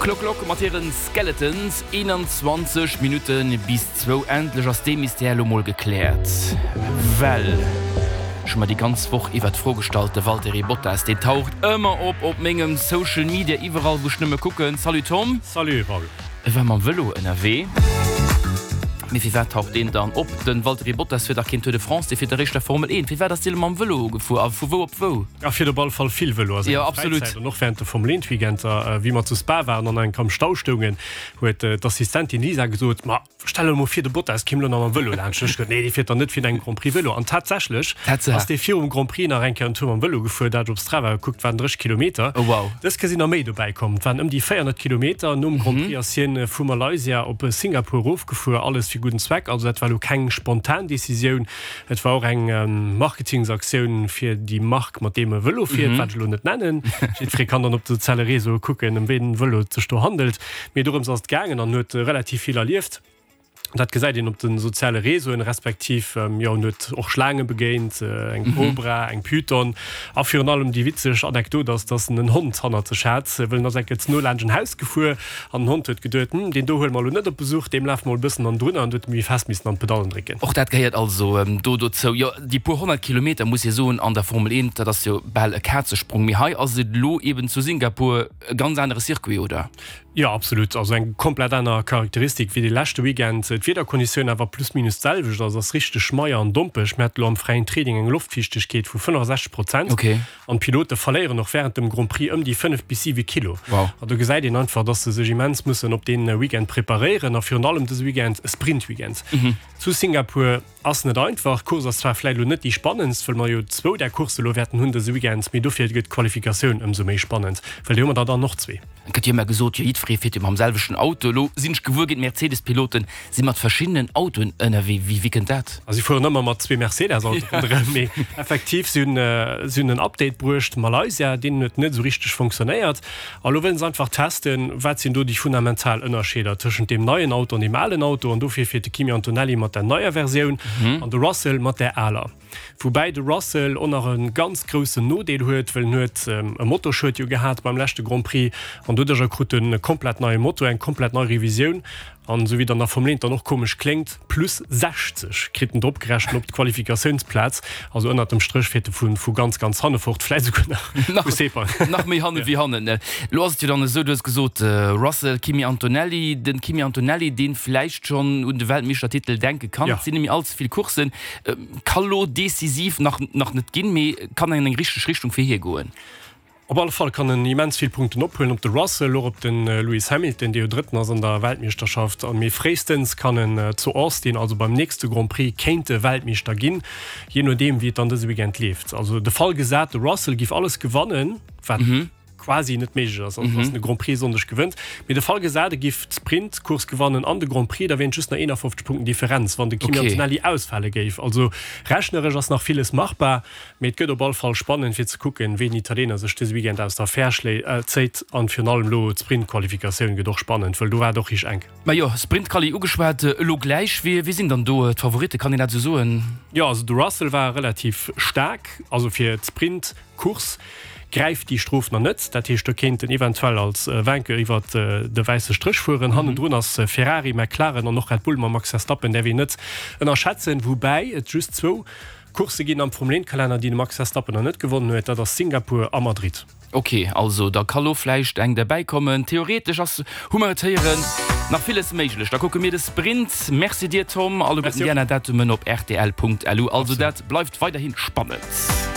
Clock Lock mat hiren Skeletons, 21 Minutte bis zwou. Endlech ass dee Mystère elo mol gekläert. Well ech hu mer déi ganz Woch iwwer d'Fro gestallt, de Valtteri Bottas, deen taucht ëmmer op op mengem Social Media, iwwerall wou ech nëmme kucken. Salut Tom. Salut Raoul. E war mam Vëlo ënnerwee. Mee firwat taucht deen dann op? De Valtteri Bottas fiert dach keen Tour de France, dee fiert eréischt der Formel 1. Firwat ass dee lo mam Vëlo gefuer a vu wou op wou? A fiert op all Fall vill Vëlo a senger Fräizäit an och wärend de Formel 1 Weekender. Wéi mer zu Spa waren an enk am Stau stoungen, huet d'Assistentin Lisa gesot, Ma stell der emol vir, de Bottas kéim elo nach mam Vëlo laanscht. Ech gesot, Nee, dee fiert dann net virun engem Grand Prix Vëlo. An tatsächlech ass dee virum Grand Prix nach eng Kéier en Tour mam Vëlo gefuer, dat op Strava gekuckt, waren 30 Kilometer. Dës Kéier sinn der méi dobäi komm, et waren ëm déi 400 Kilometer. Nom Grand Prix ass hien vu Malaysia op Singapur erofgefuer, alles fir gudden Zweck. Also dat war elo keng spontan Decisioun. Et war och eng Marketingsaktioun fir déi Mark, mat deem e Vëlo fiert, wat ech elo net nennen. Jiddweree kann dann op de soziale Réseaue kucken, ëm wéi en Vëlo et sech do handelt. Mee dorëms ass et gaangen an huet relativ vill erlieft. Dat gesäit een op de soziale Réseauen, respektiv, jo, en huet och Schlaange begéint, eng Kobra, eng Python. A virun allem déi witzeg Anekdot ass, dass en en Hond hannert sech hat, wëll en ass eng Kéier ze no laanscht en Haus gefuer An den Hond huet geduet, Hm, deen do huele mer elo net op Besuch, deem lafe mer mol e bëssen hannendrun an huet e méi fest missen an d'Pedallen drécken. Och dat gehéiert also do dozou. Jo, déi puer 100 Kilometer, muss ee soen, an der Formel 1, dat ass jo bal e Kazesprong. Mee hei ass et elo eben zu Singapur e ganz anere Circuit, oder? Jo, absolut. Also eng komplett aner Charakteristik wéi de leschte Weekend. D'Wiederkonditioun awer plus minus d'selwecht, also ass richteg schmeier an dompeg. Mir hate lo am fräien Training eng Loftfiichtegkeet vu 65 Prozent. An d'Pilote verléieren och wärend dem Grand Prix ëm déi 5 bis 7 Kilo. An do gesäit een einfach, dass se sech immens mussen op dee Weekend preparéieren a virun allem dëse Weekend, e Sprint-Weekend zu Singapur, ass net einfach. D'Course ass zwar vläicht elo net déi spannendst, wëll mer jo zwou där Coursse elo wäerten hunn dëse Weekend, mee dofir gëtt d'Qualifikatioun ëmsou méi spannend, well déi hu mer der dann och zwee. Et gëtt jo ëmmer gesot, jo jiddweree fiert jo mam selwechten Auto. Elo sinn ech gewuer ginn, d'Mercedes-Piloten si mat verschiddenen Autoen ënnerwee. Wéi, wéi kënnt dat? A si fueren ëmmer mat zwee Mercedes-Autoe ronderëm. Mee effektiv, si hunn, si hunn en Update bruecht, Malaysia, deen huet net esou richteg fonctionnéiert. A lo wëllen se einfach testen, wat sinn do déi fundamental Ënnerscheeder tëschent deem neien Auto an deem alen Auto. An dofir fiert de Kimi Antonelli mat der neier Versioun an de Russell mat där aler. Woubäi de Russell och nach e ganz groussen Nodeel huet, well en huet e Motorschued jo gehat beim leschte Grand Prix an doduercher krut en e komplett neie Motor, eng komplett nei Revisioun an esou wéi et an der Formel 1 dann och komesch kléngt, plus 60 kritt en drop gerechent op d'Qualifikatiounsplaz. Also ënnert dem Stréch fiert e vu ganz, ganz hanne fort, vläit esouguer nach vu Sepang. Nach méi hanne wéi hannen. Elo ass et jo dann esou, du hues gesot Russell, Kimi Antonelli, den Kimi Antonelli, dee vläicht schonn un de Weltmeeschtertitel denke kann, et sinn net méi all ze vill Courssen, Ka lo decisiv nach nach net ginn, mee kann an eng richteg Richtung fir hie goen. Op alle Fall kann en immens vill Punkten ophuelen op de Russell, och op de Lewis Hamilton, dee jo Drëtten ass an der Weltmeeschterschaft. Mee fréistens kann en zu Austin, also beim nächste Grand Prix, kéint e Weltmeeschter ginn, jee nodeem wéi et dann dëse Weekend leeft. Also de Fall gesat, de Russell giff alles gewannen, wat quasi net méiglech ass, also dass en de Grand Prix e Sonndeg gewënnt. Mee de Fall gesat, e giff d'Sprint-Course gewannen an de Grand Prix, da wieren et just nach 51 Punkten Differenz, wann de Kimi Antonelli ausfale géif. Also rechneresch ass nach villes machbar, mee et gëtt op all Fall spannend fir ze kucken, wéi den Italiener sech dëse Weekend aus der Affär zéit. An virun allem elo d'Sprint-Qualifikatioun gëtt och spannend, wëll do war et och richteg enk. Majo, Sprint-Quali ugeschwat, elo gläich. Wie sinn dann do d'Favoritten, kann een dat esou soen? Jo, also de Russell war relativ staark, also fir d'Sprint. Course gräift déi Strof nach net, dat heescht do kéint en eventuell als Vainqueur iwwert de wäisse Stréch fueren. Hannendrun ass Ferrari, McLaren an och Red Bull mam Max Verstappen däerf een net ënnerschätzen, woubäi et just zwou Coursse ginn am Formel 1 Kalenner déi de Max Verstappen nach net gewonnen huet, dat ass Singapur a Madrid. Ok, also da ka lo vläicht eng derbäi kommen. Theoretesch ass, hu mer et héieren, nach villes méiglech. Da kucke mir de Sprint. Merci dir Tom. Alleguerten déi aner Datumen op rtl.lu. Also dat bleift weiderhi spannend.